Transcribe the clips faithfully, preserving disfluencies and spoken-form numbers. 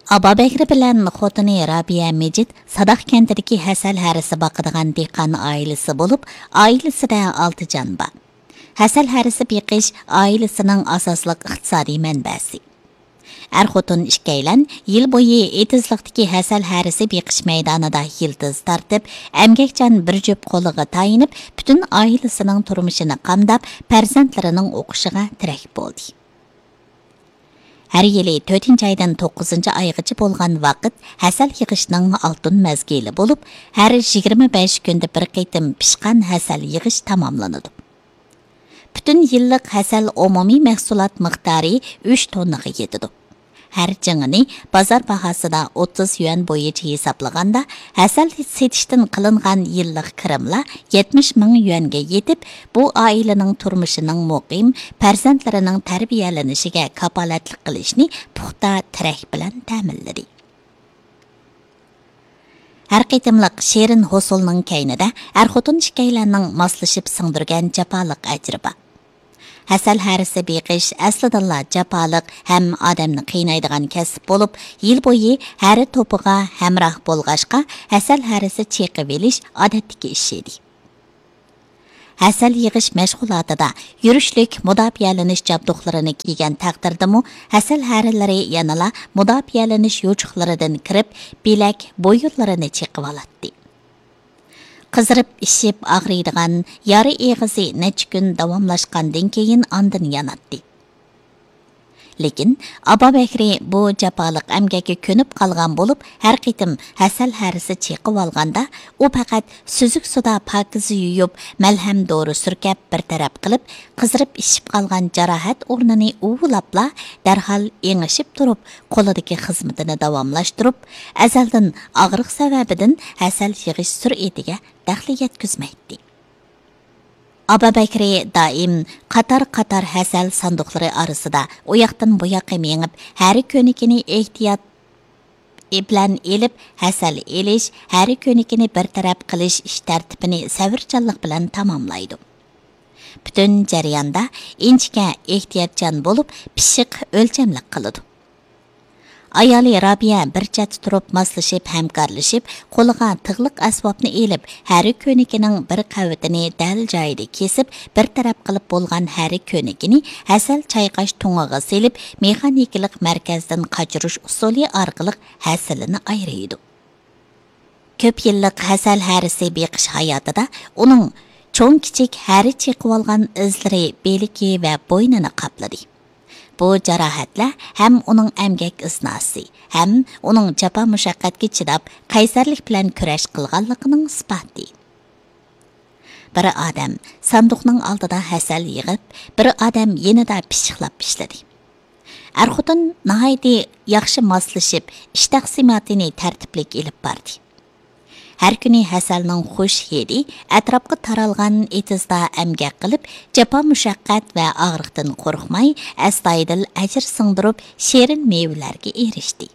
ئابابەكرى بىلەن خوتۇنى رابىيە مىجىت ساداق كەنتىدىكى ھەسەل ھەرىسى باقىدىغان دېھقان ئائىلىسى بولۇپ، ئائىلىسىدە ئالتە جان بار. ھەسەل ھەرىسى بېقىش ئائىلىسىنىڭ ئاساسلىق ئىقتىسادىي مەنبەسى. ئەر-خوتۇن ئىككىيلەن يىل بويى ئېتىزلىقتىكى ھەسەل ھەرىسى بېقىش مەيدانىدا يىلتىز تارتىپ، ئەمگەكچان بىر جۈپ قولىغا تايىنىپ، پۈتۈن ئائىلىسىنىڭ تۇرمۇشىنى قامداپ، پەرزەنتلىرىنىڭ ئوقۇشىغا تىرەك بولدى. ھەر يىلى تۆتىنچى ئايدىن توققۇزىنچى ئايغىچە بولغان ۋاقىت ھەسەل يىغىشنىڭ ئالتۇن مەزگىلى بولۇپ، ھەر يىگىرمە بەش كۈندە بىر قېتىم پىشقان ھەسەل يىغىش تاماملىنىدۇ. پۈتۈن يىللىق ھەسەل ئومۇمىي مەھسۇلات مىقدارى ئۈچ توننىغا يېتىدۇ. ھەر جىڭىنى بازار باھاسىدا ئوتتۇز يۈەن بويىچە ھېسابلىغاندا، ھەسەل سېتىشتىن قىلىنغان يىللىق كىرىملار يەتمىش مىڭ يۈەنگە يېتىپ، بۇ ئائىلىنىڭ تۇرمۇشىنىڭ مۇقىم، پەرزەنتلىرىنىڭ تەربىيەلىنىشىگە كاپالەتلىك قىلىشنى پۇختا تىرەك بىلەن تەمىنلىدى. ھەر قېتىملىق شېرىن ھوسۇلنىڭ كەينىدە ئەر-خوتۇن ئىككىيلەننىڭ ماسلىشىپ سىڭدۈرگەن جاپالىق ئەجرى بار. ھەسەل ھەرىسى بېقىش ئەسلىدىنلا جاپالىق ھەم ئادەمنى قىينايدىغان كەسىپ بولۇپ، يىل بويى ھەرە توپىغا ھەمراھ بولغاچقا، ھەسەل ھەرىسى چېقىۋېلىش ئادەتتىكى ئىش ئىدى. ھەسەل يىغىش مەشغۇلاتىدا يۈرۈشلۈك مۇداپىئەلىنىش جابدۇقلىرىنى كىيگەن تەقدىردىمۇ، ھەسەل ھەرىلىرى يەنىلا مۇداپىئەلىنىش يوچۇقلىرىدىن كىرىپ، بىلەك، بويۇنلىرىنى چېقىۋالاتتى. قىزىرىپ ئىششىپ ئاغرىيدىغان يارا ئېغىزى نەچچە كۈن داۋاملاشقاندىن كېيىن ئاندىن ياناتتى. لېكىن ئابابەكرى بۇ جاپالىق ئەمگەككە كۆنۈپ قالغان بولۇپ، ھەر قېتىم ھەسەل ھەرىسى چېقىۋالغاندا، ئۇ پەقەت سۈزۈك سۇدا پاكىز يۇيۇپ، مەلھەم دورا سۈركەپ بىر تەرەپ قىلىپ، قىزىرىپ ئىششىپ قالغان جاراھەت ئورنىنى ئۇۋىلاپلا، دەرھال ئېڭىشىپ تۇرۇپ، قولىدىكى خىزمىتىنى داۋاملاشتۇرۇپ، ئەزەلدىن ئاغرىق سەۋەبىدىن ھەسەل يىغىش سۈرئىتىگە دەخلى يەتكۈزمەيتتى. ئابابەكرى دائىم قاتار-قاتار ھەسەل ساندۇقلىرى ئارىسىدا ئۇياقتىن بۇياققا مېڭىپ، ھەرە كۆنىكىنى ئېھتىيات بىلەن ئېلىپ، ھەسەل ئېلىش، ھەرە كۆنىكىنى بىر تەرەپ قىلىش ئىش تەرتىپىنى سەۋرچانلىق بىلەن تاماملايدۇ. پۈتۈن جەرياندا ئىنچىكە، ئېھتىياتچان بولۇپ، پىششىق، ئۆلچەملىك قىلىدۇ. ئايالى رابىيە بىر چەتتە تۇرۇپ ماسلىشىپ، ھەمكارلىشىپ، قولىغا تىغلىق ئەسۋابنى ئېلىپ، ھەرە كۆنىكىنىڭ بىر قەۋىتىنى دەل جايىدا كېسىپ، بىر تەرەپ قىلىپ بولغان ھەرە كۆنىكىنى ھەسەل چايقاش تۇڭىغا سېلىپ، مېخانىكىلىق مەركەزدىن قاچۇرۇش ئۇسۇلى ئارقىلىق ھەسىلىنى ئايرىيدۇ. كۆپ يىللىق ھەسەل ھەرىسى بېقىش ھاياتىدا ئۇنىڭ چوڭ-كىچىك ھەرە چېقىۋالغان ئىزلىرى بىلىكى ۋە بوينىنى قاپلىدى. بۇ جاراھەتلەر ھەم ئۇنىڭ ئەمگەك ئىزناسى، ھەم ئۇنىڭ جاپا-مۇشەققەتكە چىداپ، قەيسەرلىك بىلەن كۈرەش قىلغانلىقىنىڭ ئىسپاتى. بىر ئادەم ساندۇقنىڭ ئالدىدا ھەسەل يىغىپ، بىر ئادەم يېنىدا پىششىقلاپ ئىشلىدى. ئەر-خوتۇن ناھايىتى ياخشى ماسلىشىپ، ئىش تەقسىماتىنى تەرتىپلىك ئېلىپ باردى. ھەر كۈنى ھەسەلنىڭ خۇش ھىدى ئەتراپقا تارالغان ئېتىزدا ئەمگەك قىلىپ، جاپا-مۇشەققەت ۋە ئاغرىقتىن قورقماي، ئەستايىدىل ئەجىر سىڭدۈرۈپ، شېرىن مېۋىلەرگە ئېرىشتى.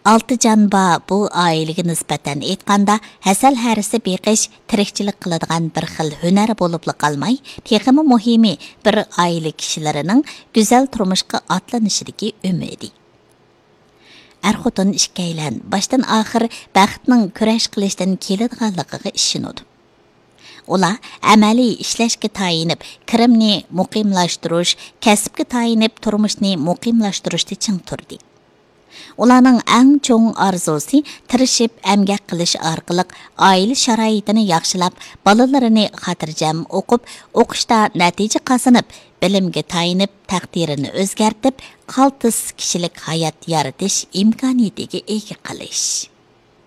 ئالتە جان بار بۇ ئائىلىگە نىسبەتەن ئېيتقاندا، ھەسەل ھەرىسى بېقىش تىرىكچىلىك قىلىدىغان بىر خىل ھۈنەر بولۇپلا قالماي، تېخىمۇ مۇھىمى، بىر ئائىلە كىشىلىرىنىڭ گۈزەل تۇرمۇشقا ئاتلىنىشىدىكى ئۈمىدى. ئەر-خوتۇن ئىككىيلەن باشتىن-ئاخىر بەختنىڭ كۈرەش قىلىشتىن كېلىدىغانلىقىغا ئىشىنىدۇ. ئۇلار ئەمەلىي ئىشلەشكە تايىنىپ، كىرىمنى مۇقىملاشتۇرۇش، كەسىپكە تايىنىپ، تۇرمۇشنى مۇقىملاشتۇرۇشتا چىڭ تۇردى. ئۇلارنىڭ ئەڭ چوڭ ئارزۇسى تىرىشىپ ئەمگەك قىلىش ئارقىلىق ئائىلە شارائىتىنى ياخشىلاپ، بالىلىرىنى خاتىرجەم ئوقۇپ، ئوقۇشتا نەتىجە قازىنىپ، بىلىمگە تايىنىپ، تەقدىرىنى ئۆزگەرتىپ، قالتىس كىشىلىك ھايات يارىتىش ئىمكانىيىتىگە ئىگە قىلىش.